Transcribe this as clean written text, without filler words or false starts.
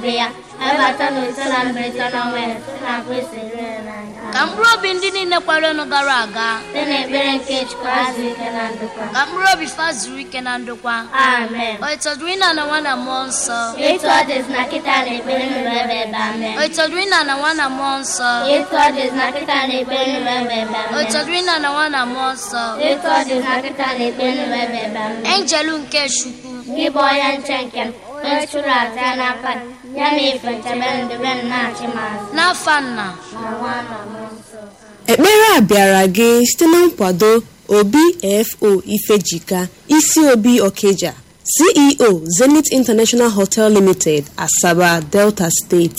obe ya, webata n'ise na mberede n'ọnwa ya, site na Kristi rere n'anya. Ka mkpụrụ obi ndị niile kwerenụ gara aga Site n'ekpere nke Chukwu azụ ike na ndokwa. Ka mkpụrụ obi fa zuru ike na ndokwa. Amen. O ịtọdụrụ ịna na nwa na mmụọ nsọ. Etu ọ dịzị na kịta na ekpere nụrụ ebe ebe amen. O ịtọdụrụ ịna na nwa na mmụọ nsọ. Etu ọ dịzị na kịta na ekpere nụrụ ebe ebe O amen. ịtọdụrụ ịna na nwa na mmụọ nsọ. Etu ọ dịzị na kịta na ekpere nụrụ ebe ebe amen. Enjelu nke Chukwu. Gị bụ onye nche nke m, onye chụrụ aja n'aka gị, ya na ife nchebe ndube m na-achị m azụ. N'afa nna Na nwa na mmụọ nsọ. Ekpere a bịara gị site na nkwado Obi F.O. Ifejika, Isi Obi Okija, CEO, Zenith International Hotel Limited, Asaba, Delta State.